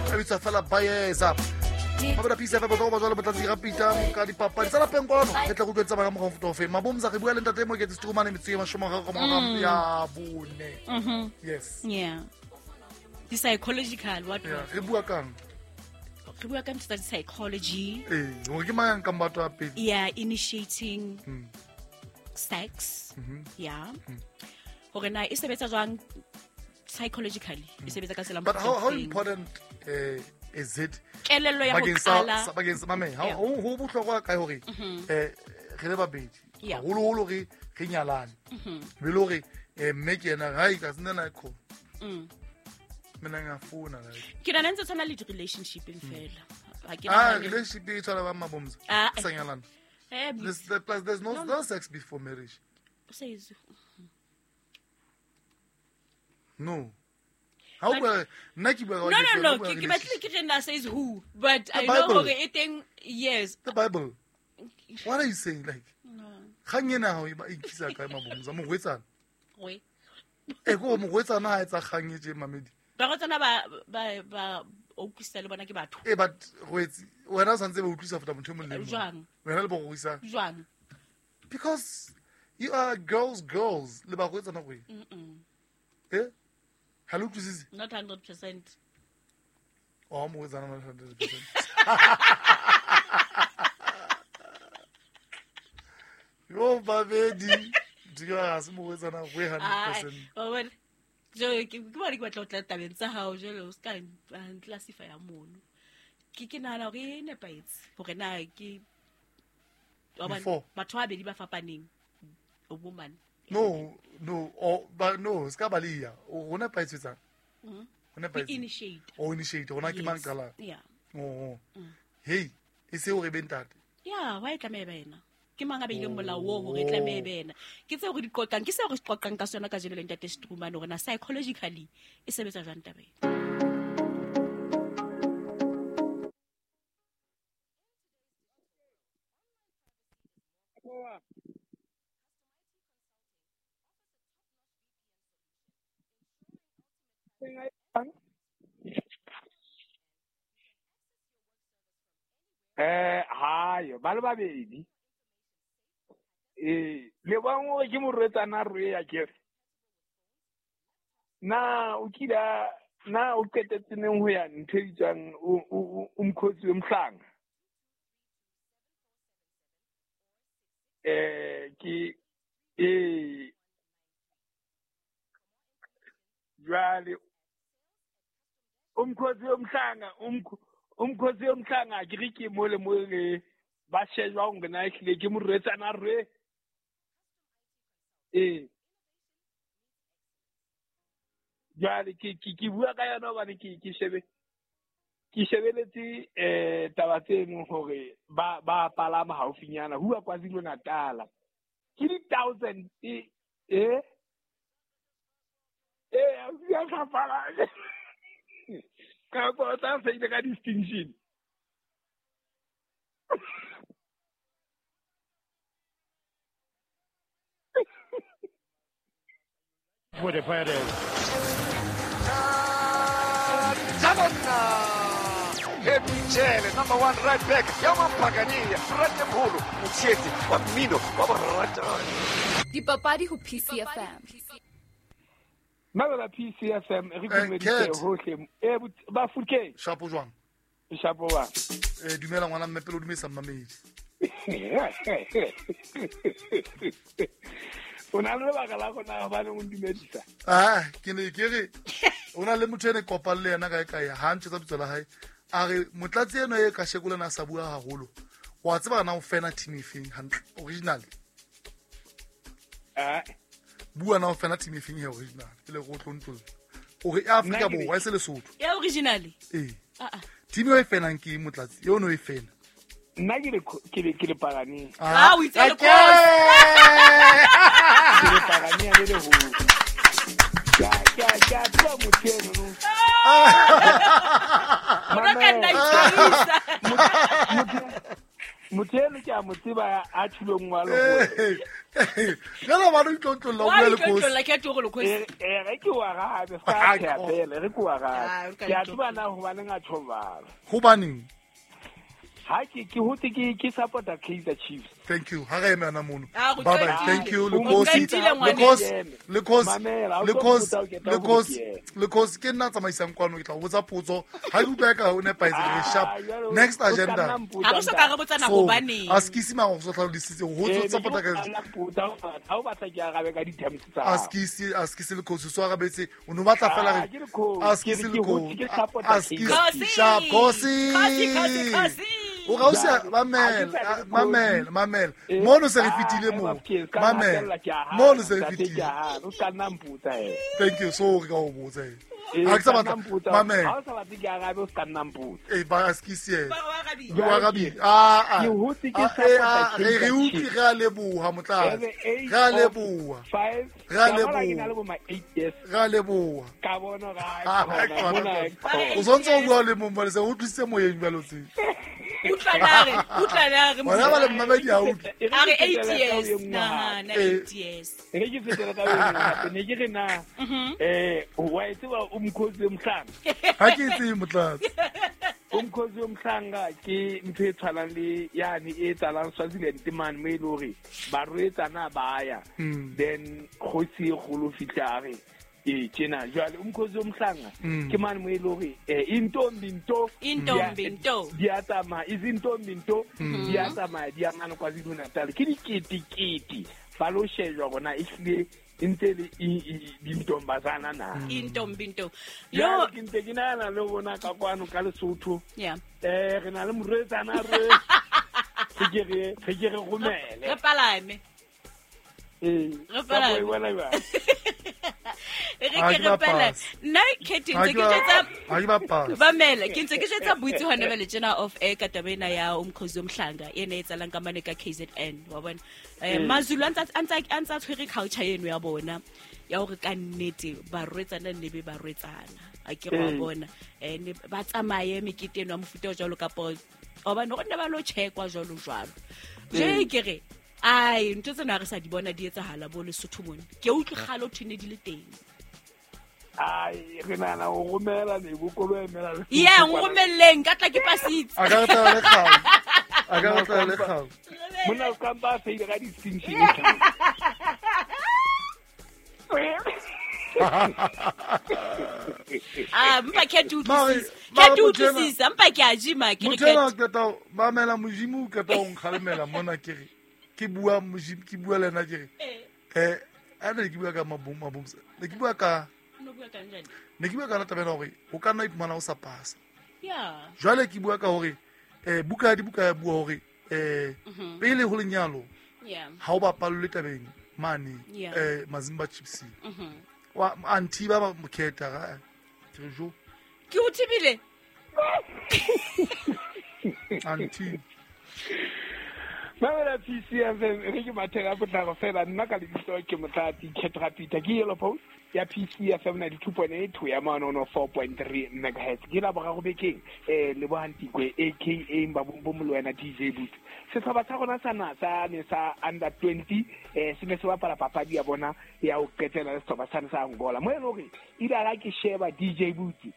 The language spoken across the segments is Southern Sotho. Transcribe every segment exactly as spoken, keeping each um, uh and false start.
A bitswa fela Bayeza. Mabela P C F M ba ba jwale Motlatsi Rapita ka dipapadi tsa lapeng kwano re tla go utlwetsa ba ka mokgwa o feng. Mabomza re bua le ntate Moketsi Strumane metsotso e mashome a mararo ka ya bone. Mhm. Yes. Yeah. The psychological what Yeah, re bua kang? Re bua ka ntho tsa psychology. Eh, hore ke mang ka mbatho a pele? Yeah, initiating Mm. sex. Mhm. Yeah. Hore na e sebetsa jwang psychologically? E sebetsa ka tsela But how how mokgwa o feng? important uh, is it Kelello ya ho bakeng sa qala. sa- bakeng sa mame ha Yeah. ho ho bohlokwa kae hore eh re le babedi Yeah. haholoholo re re nyalane be le hore eh mme ke yena hai ka sena na kho Mm. mina ngiyafuna like Ke nahana ntse tshwana le di-relationship-eng fela. Ha ke ah nahane- relationship e tshwana ba mabomza Ah, sa nyalana eh, There's, there, plus there's no, no sex before marriage. says No. How But- nna ke bua ka No, no, ke no. bua Ke ka ke batlile ke re na says who, but I know Bible. hore e teng, yes. The Bible. What are you saying? Like, No. kgang ena ha o e ba- e nkisa kae mabomza morwetsana Oi. e ko morwetsana ha etsa kgang e tje mamedi Barwetsana ba ba ba o utlwisisa le bona ke batho. e but rwetsi wena o santse ba utlwisa feta motho e mong le e mong. Jwang? Wena le borwetsana Jwang? because you are girls girls le barwetsana go Mm-mm. eh ha le utlwisise Not hundred percent. o morwetsana not hundred percent yo babedi di ga se morwetsana go hundred Ah, percent wa bona. Jwale ke ke bona ke batla ho tla tabeng tsa hao jwale o ska classify ya mono. Ke ke nahana hore e nepahetse hore na ke wa bona, Before. batho ba babedi ba fapaneng, a woman. No, no, o ba no, ska ba le ya. O hona paetsetsang. Mhm. Hona Ke paetse. initiate. O initiate, hona ke mang Yes. qala. Yeah. Oh. Hey, e se hore be ntate. Yeah, why e tlameha e be yena? Ke mang a beileng molao oo hore e tlameha e be yena? Ke tseo re di qoqang, ke seo re se qoqang ka sona kajeno le ntate Strumane hore na psychologically e sebetsa jwang taba ena. Eh, hayo, ba le babedi. Eh, le bang hore ke morwetsana rwe ya kere. Na o kila na o qetetse neng ho ya ntho e bitswang o o o mkhotsi we mhlanga. Eh, ke eh jwale umkhosi womhlanga umkhosi womhlanga ke re ke mo le mo le ba shejwa hore na ehlile ke morwetsana rwe. Eh jwale ke ke ke bua ka yona hobane ke ke shebe ke shebeletse eh taba tseno hore ba ba palama haufinyana huwa KwaZulu Natal ke di thousand eh eh eh ya ka pala ka go tla se ile ka distinction. What a player it is. Emichele, number one right back. Yaman Pagania, Ratemholo, Mutseti, wa mmino, wa boratani. Dipapadi ho P C F M. Mabela P C F M re dumedise hohle. Eh ba fuke. Shapo jwang? Shapo wa. Eh dumela ngwana mme pele o dumedisa mmamedi. O na le lebaka la gona hobane o ndumedisa. Ah, ke ne ke re o na le motho ene kopang le yena kae kae ha ntse tsa bitso la hae. A re motlatsi eno e ka sheko lena sa bua haholo. Wa tseba na o fena team e feng hantle original? Ah. Bua na o fena team e feng he original? Pele go tlo ntlo. O re Afrika Borwa e se Lesotho. Ya original? Eh. Ah ah. Team e fenang ke motlatsi, eo no e fena. Nna ke le ke le ke le Pagani. Ah, o itse le Ke le Pagani le le ho. Ya ya ya tlo motho eno no. O ka nna itshwarisa. Motho eno ke a mo tseba a tshilong wa lo. Eh, Jalo ba re itlotlolla o bua le kosi. Itlotlolla ke toro le kosi. Eh re ke wa rabe sa thapele re ke wa rabe. Ke a tseba na hobaneng a tjho Hobaneng? Ha ke ke hotse ke ke supporta Kaizer Chiefs. Thank you. Ha re eme ana mono. Bye bye. Thank you. Lekosi. Lekosi. Lekosi. Lekosi. Lekosi. Lekosi ke nna tsamaisang kwano ke tla o botsa potso. Ha ke utlwa ka o nepahetse re sharp. Next agenda. Ha re so ka re botsana hobaneng. A skisi ma go so tlhalositse ho tso supporta Kaizer. Ha o batla ke arabe ka di-terms tsa. A skisi, a skisi lekosi so arabetse. O no batla fela re. A skisi lekosi. A skisi. Sharp. Kosi. Kosi, kosi, kosi. O ga o se mamela mamela mamela mono se re fitile mo mamela mono se re fitile o ka nna mpotsa e thank you so re ka o botsa e ha ke sa batla mamela ha o sa batle ke arabe o ka nna mpotsa e ba askisie o arabi ah ah ke hotse ke support re re utlwi re a leboha motlatsi re a leboha re a leboha re a leboha ka bona ga o sontse o bua le mong se o utlwisitse moyeng jalo tse utlwanare utlwanare bona ba le mmamedi ha utlwe a re eight years na na eight years re ke fetela ka wena hape ne ke re na eh wa tseba umkhosi womhlanga ha ke itse motlatsi umkhosi womhlanga ke ntho e tshwanang le yani e tsalang Swaziland man mo e le hore barwetsana ba ya then kgosi e kgolo fihla re e tjena jwale umkhosi womhlanga ke mane mo e le hore intombi nto intombi nto di a tsamaya izintombi nto di a tsamaya di a mane KwaZulu Natal ke diketekete ba lo shejwa bona ehlile ntse le dintombazana na intombi nto yo ke ntse ke nahana le bona ka kwano ka Lesotho yeah eh re na le morwetsana re ke re re ke re romele re palame eh re palame re ke re pele nna ke ntse ke jetsa ba mela ke ntse ke jetsa boitse hona bele tjena off air ka taba ena ya umkhosi womhlanga ena e tsalang ka mane ka K Z N wa bona eh maZulu a ntsa a ntsa tshwere culture eno ya bona ya hore ka nnete barwetsana ne be barwetsana a ke wa bona eh ba tsamaye mekete eno ya mofuta o jwalo kapo hobane go nne ba lo checkwa jwalo jwalo je ke re ai ntho tsena re sa di bona di etsahala bo Lesotho mone ke utlwe kgalo thene di le teng ai re nana o romela le bokolo emela le yeah ngomelleng ka tla ke pasitse a ka tla le kgalo a ka tla le kgalo mona o ka ba feile ka distinction ah mpa ke utlwisisa ke utlwisisa mpa ke a jima ke re ke motho ke tla mamela Modimo ke tla o nkgalemela mona ke re ke bua Modimo ke bua lena ke re eh a ne ke bua ka mabom mabom ne ke bua ka no bua ka njani ne ke bua ka taba ena hore o ka nna iphumana o sa pasa yeah jwale ke bua ka hore eh buka di buka ya bua hore eh pele ho lenyalo yeah ha o bapallwe tabeng mane eh Mazimba Chiefs wa anti ba mokhetha ga ke re jo ke o thibile anti Mamela P C F M re ke matheka potlako fela nna ka lebitso ke Motlatsi Ketra Peter ke Yellow Post ya P C F M ninety-two point eight ho ya manono four point three megahertz ke la boraro bekeng eh Lebohantikwe aka Mbabombo Molwena D J Boot setlhopha sa rona sa na sa ne sa under twenty eh se ne se bapala papadi ya bona ya ho qetela le setlhopha sa sa Angola mo e leng hore ile a ke sheba D J Boot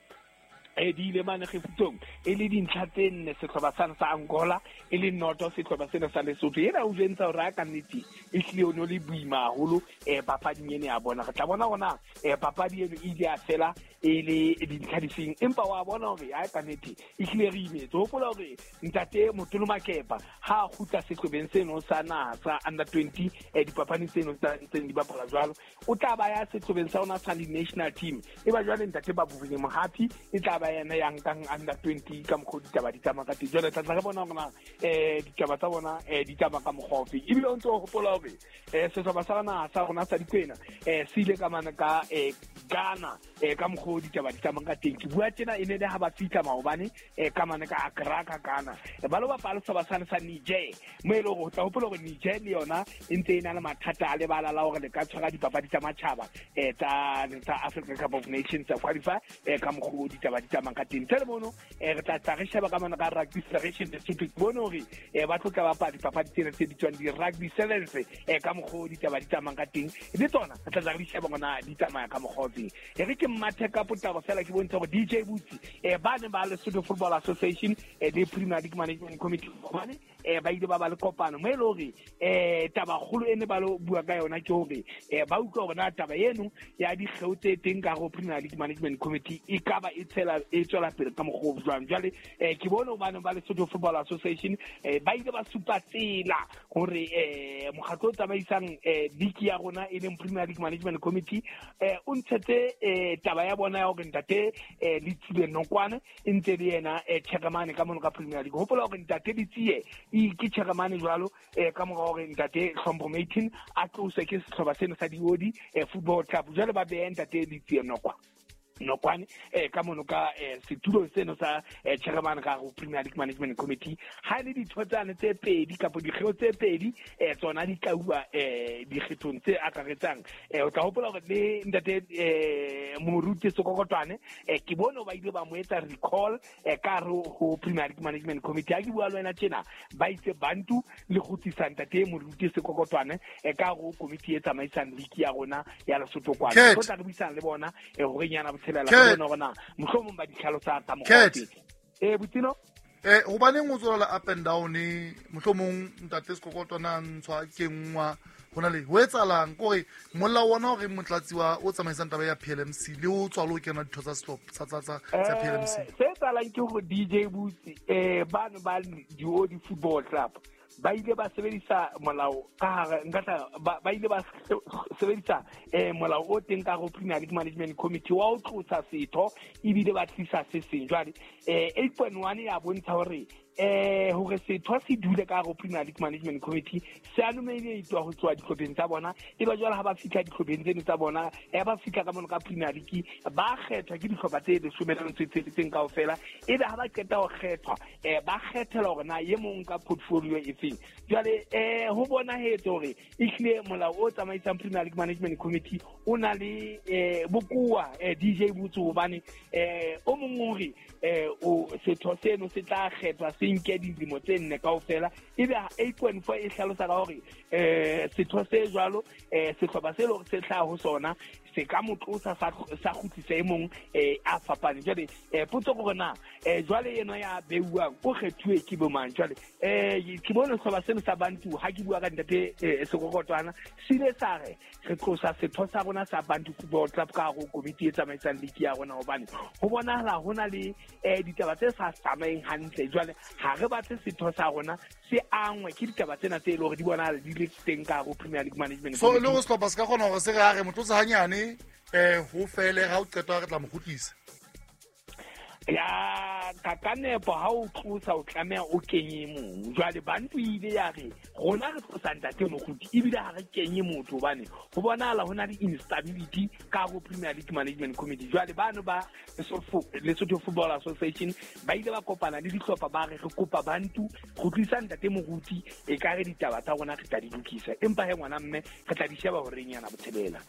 e di ile mane kgefutsong e le dintlha tse nne setlhopha sa sa Angola e le noto setlhopha sena sa Lesotho ena o jentsa hore a ka nnete e hlile o no le boima haholo eh papading ene ya bona re tla bona hona eh papadi eno e ile ya fela e le dintlha difeng empa wa bona hore a ka nnete e hlile re imetse hopola hore ntate Motolo Makepa ha a kgutla sehlobeng seno sa naha sa under twenty eh dipapading tseno tsa ntseng di bapala jwalo o tla ba ya sehlobeng sa ona sa national team e ba jwale ntate ba Bobile Mohapi e tla ba yena ya nkang under twenty ka mokgwa ditaba di tsamaya ka teng jwale tla tla re bona hore na eh ditaba tsa bona eh di tsamaya ka mokgwa ofe ebile o ntse o hopola hore eh sehlopha sa naha sa rona sa Dikwena eh se ile ka mane ka eh Ghana eh ka mokgwa mokgwa o ditaba di tsamayang ka teng. Ke bua tjena e ne le ha ba fihla maobane eh ka mane ka Accra ka Ghana, ba lo bapala sehlopha sane sa Niger, mo e leng hore o tla hopola hore Niger le yona e ntse e na le mathata a lebala la hore le ka tshwara dipapadi tsa matjhaba eh tsa tsa Africa Cup of Nations tsa qualify eh ka mokgwa o ditaba di tsamayang ka teng. Tse mono eh re tla tla re sheba ka mane ka Rugby Federation Lesotho, ke bone hore eh ba tlo tla bapala dipapadi tsena tse bitswang di-rugby sevens eh ka mokgwa o ditaba di tsamayang ka teng, le tsona re tla tla re di sheba ngwana di tsamaya ka mokgwa o teng. E re ke mmathe ka potlako fela ke bontshe hore D J Butsi eh ba ne ba Lesotho Football Association eh le Premier League Management Committee hobane eh ba ile ba ba le kopano mo e le hore eh taba kgolo e ne ba lo bua ka yona ke hore eh ba utlwa hore na taba eno ya dikgeo tse teng ka ho Premier League Management Committee e ka ba e tshela e tswela pele ka mokgwa o jwang. Jwale eh ke bone hobane ba Lesotho Football Association eh ba ile ba supa tsela hore eh mokgatlo o tsamaisang eh league ya rona e leng Premier League Management Committee eh o ntshetse eh taba ya bona ya hore ntate eh Letsie Nokwane e ntse le yena eh chairman ka mono ka Premier League. Hopola hore ntate Letsie e ke chairman jwalo eh ka mora hore ntate Hlompho Martin a tloswe ke sehlopha seno sa Diodi eh Football Club, jwale ba behe ntate Letsie Nokwane Nokwane eh ka mono ka eh, setulo seno sa eh, chairman ka go Premier League Management Committee. Ha le ditho tsane tse pedi kapa dikgeo tse pedi eh tsona di tla eh dikgethong tse akaretsang eh o tla hopola hore le ntate eh Moruti Sekokotwane eh ke bone ba ile ba mo etsa recall eh ka re ho Premier League Management Committee. Ha ke bua le wena tjena ba itse bantu le kgutlisa ntate Moruti Sekokotwane eh ka go committee e tsamaisang league ya rona ya Lesotho kwana. Re tla re buisana le bona eh hore nyana la bona rona mohlomong ba ditlhalosa tsa mokgwa eh Butino eh hobaneng o tswela up and down mohlomong ntate Sekokotwana ntshwa kengwa hona le ho etsalang kore molao ona hore motlatsi wa o tsamaisang taba ya P L M C le o tswalo kena ditho tsa stop tsa tsa tsa P L M C se etsalang ke hore D J Butsi eh bano ba Diodi Football Club ba ile ba sebedisa molao ka hare nka tla ba ile ba sebedisa eh molao o teng ka go Premier League Management Committee wa o tlosa setho ebile ba tlisa se seng. Jwale eh eight point one ya bontsha hore eh hore setho se dule ka go Premier League Management Committee se a nominate-wa ho tswa dihlopheng tsa bona, e ba jwale ha ba fihla dihlopheng tseno tsa bona e ba fihla ka mono ka Premier League ba kgethwa ke dihlopha tse leshome le metso e tsheletseng kaofela, ebe ha ba qeta ho kgethwa eh ba kgethela hore na e mong ka portfolio e feng. Jwale eh ho bonahetse hore ehlile molao o tsamaisang Premier League Management Committee o na le eh bokuwa eh D J Butsi hobane eh o mong hore eh o setho seno se tla kgethwa se nke dilemo tse nne kaofela, ebe eight point four e hlalosa ka hore eh setho se jwalo eh sehlopha se leng se hlaha ho sona se ka mo tlosa sa sa kgutlisa e mong eh a fapane. Jwale eh potso ke hore na eh jwale yena ya beuwang o kgethuwe ke bo mang? Jwale eh ke bone sehlopha seno sa Bantu ha ke bua ka ntate Sekokotwana se ile sa re re tlosa setho sa rona sa Bantu Football Club ka hare ho komiti e tsamaisang league ya rona hobane ho bonahala ho na le eh ditaba tse sa tsamaeng hantle. Jwale ha re batle setho sa rona se angwe ke ditaba tsena tse e leng hore di bonahala di le teng ka hare ho Premier League Management So le ho sehlopha se ka kgona hore se re ha re mo tlosa hanyane eh ho fele ha o qetwa re tla mo kgutlisa ya ka ka nepo ha o tlosa o tlameha o kenye mong. Jwale Bantu ile ya re rona re tlosa ntate Moruti ebile ha re kenye motho hobane ho bonahala ho na le instability ka ho Premier League Management Committee. Jwale bano ba Lesotho Football Association ba ile ba kopana le dihlopha ba re re kopa Bantu go tlisa ntate Moruti e ka re ditaba tsa rona re tla di lokisa, empa he ngwana mme re tla di sheba hore nyana botshelela.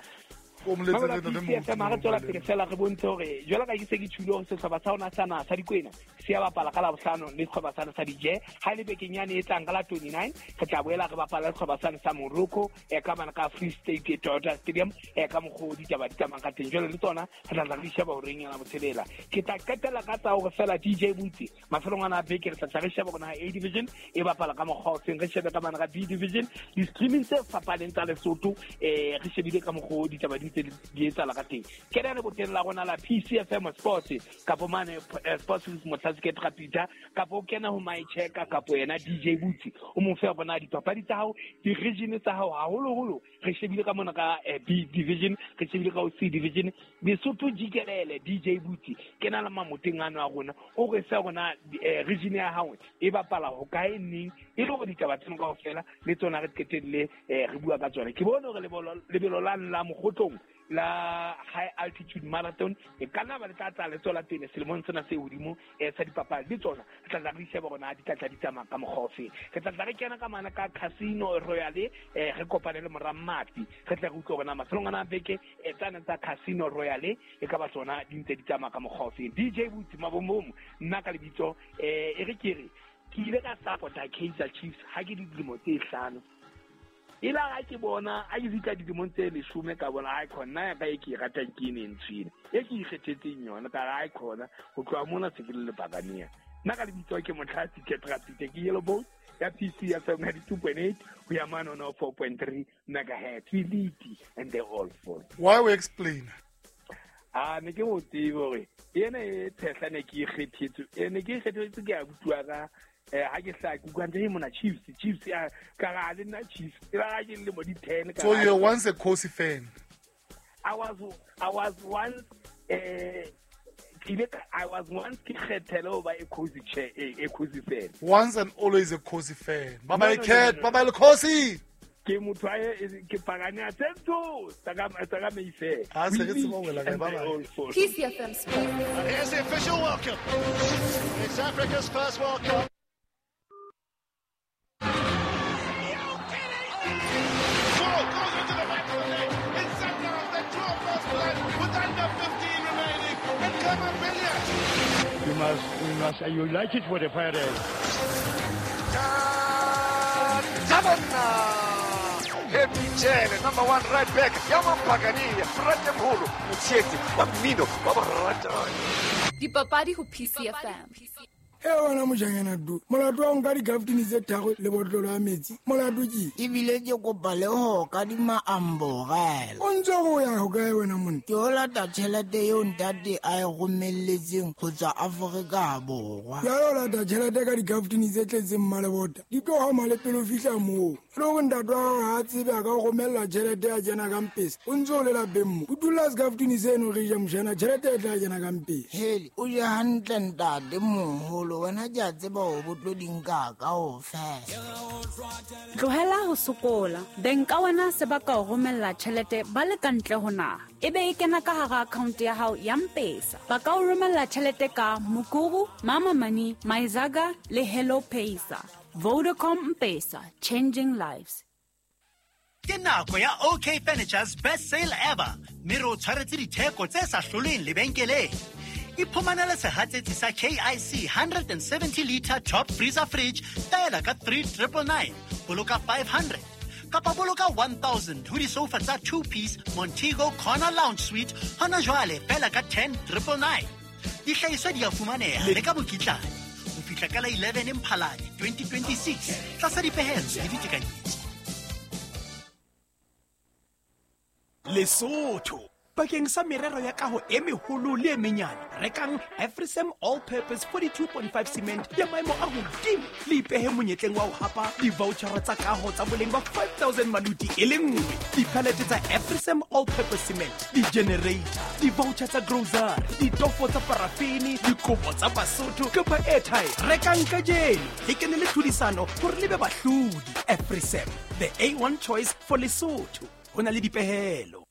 O moletsetse ntate Moruti. Mara tswela pele fela re bontshe hore jwalo ka ke se ke tjhule hore sehlopha sa rona sa naha sa Dikwena se ya bapala ka Labohlano le sehlopha sa sa Dije. Ha le bekeng yane e tlang ka la twenty-nine re tla boela re bapala le sehlopha sane sa Morocco e ka mane ka Free State Toyota Stadium e ka mokgwa o ditaba di tsamayang ka teng. Jwale le tsona re tla tla re di sheba hore eng yana botshelela. Ke tla qetella ka tsa hore fela D J Butsi mafelong ana a beke re tla tla re sheba hore na A Division e bapala ka mokgwa o feng, re shebe ka mane ka B Division di-streaming tse fapaneng tsa Lesotho eh re shebile ka mokgwa o ditaba di di etsahala ka teng. Ke re boteng la rona la P C F M Sports kapo mane Sports with Motlatsi ke Peter kapo o kena ho my checker kapo yena D J Butsi o mo fe bona dipapadi tsa hao di-region tsa hao haholoholo re shebile ka mona ka B Division, re shebile ka C Division Lesotho jikelele D J Butsi ke na le mamoteng ano a rona o re se rona region ya hao e bapala ho kae neng e le hore ditaba tseno kaofela le tsona re qetelle re bua ka tsona. Ke bone hore lebelo la la Mokgotlong la high altitude marathon e kana ba le tla tla le tswela pele selemong sena se hodimo e sa dipapadi le tsona re tla tla re sheba hore di tla tla di tsamaya ka mokgwa ofe. Re tla tla re kena ka mana ka Casino Royale eh re kopane le Moramati re tla re utlwe hore na mafelong ana a beke e tsana tsa Casino Royale e ka ba tsona di ntse di tsamaya ka mokgwa ofe. D J Butsi Mabomomo nna ka lebitso eh e re ke re ke ile ka support-a Kaizer Chiefs ha ke dilemo tse hlano. Ila ha ke bona a ke fihla dilemong tse leshome ka bona ai khona ya ka e ke ratang ke ene ntshwene e ke ikgethetseng yona ka re ai khona ho tloha mona se ke le lebakania. Nna ka lebitso ke Motlhatsi Ketrapite ke Yellow Boat ya P C F M ninety-two point eight ho ya mane ona four point three megahertz. We lead and they all fall. Why we explain? Ah ne ke mo tsebe hore ena e tshehla ne ke ikgethetse e ne ke ikgethetse ke a bua ka eh ha ke hla ke utlwa ntse mona Chiefs Chiefs ya ka ga le nna Chiefs e ba ke le mo di ten ka. So you're once a Khosi fan? I was I was once eh I was once ke kgethele ho ba e Khosi chair e Khosi fan. Once and always a Khosi fan. Bye bye cat, bye bye Khosi. Ke motho a ke pagane a tsentso tsa ka tsa ka Mayfair. Ha se re tseba wela ka bye bye. P C F M Sports. Here's the official welcome. It's Africa's first World Cup. You must, we must, you like it for the fire. Happy Jele, number one right back. Yaman Pagania, Fratemholo, Motshetsi, wa mmino, wa boratani. Dipapadi ho P C F M. E wena mojanyana du molato wa nka dikaftini tse tharo le botlolo ya metsi molato ke ebile ke kopa le ho ka dima amborela o ntse go ya ho kae wena monna ke o lata tjhelete eo ntate a e romelletseng ho tswa Afrika Borwa ya o lata tjhelete ka dikaftini tse tletseng mmalebota di tlo hama le pele o fihla moo le hore ntate wa hao ha a tsebe a ka o romella tjhelete ya kena ka mpesa o ntse o le lapeng mo o dula sekaftini seno re ja mojana tjhelete e tla kena ka mpesa hele o je hantle ntate moholo wena ke a tseba hore bo tlo di nka kaofela. Tlohela ho sokola. Beng ka wena se ba ka o romella tjhelete ba le ka ntle ho naha. Ebe e kena ka hara account ya hao ya M-Pesa. Ba ka o romella tjhelete ka Mukuru, Mama Money, Maizaga le Hello Pesa. Vodacom M-Pesa, changing lives. Ke nako ya O K Furniture's best sale ever. Mme re o tshwaretse ditheko tse sa hloleng lebenkeleng. Iphumanele sehatsetsi sa K I C one seventy liter top freezer fridge fela ka three triple nine, boloka five hundred kapa boloka one thousand ho disofa tsa two piece Montego Corner Lounge Suite hona jwale fela ka ten triple nine. Dihlahiswa di a fumaneha le ka mokitlane ho fihla ka la eleven Mphalane twenty twenty-six tlasa dipehelo le ditekanyetso. Lesotho bakeng sa merero ya kaho e meholo le e menyane rekang Afrisem all purpose forty-two point five cement ya maemo a hodimo le ipehe monyetleng wa ho hapa di-vouchera tsa kaho tsa boleng ba five thousand maluti e le nngwe, dipalete tsa Afrisem all purpose cement, di-generator, di-voucher tsa grocery, ditofo tsa parafini, dikobo tsa Basotho kapa airtime. Rekang kajeno le kene le tlhodisano hore le be bahlodi. Afrisem, the A one choice for Lesotho. Ho na le dipehelo.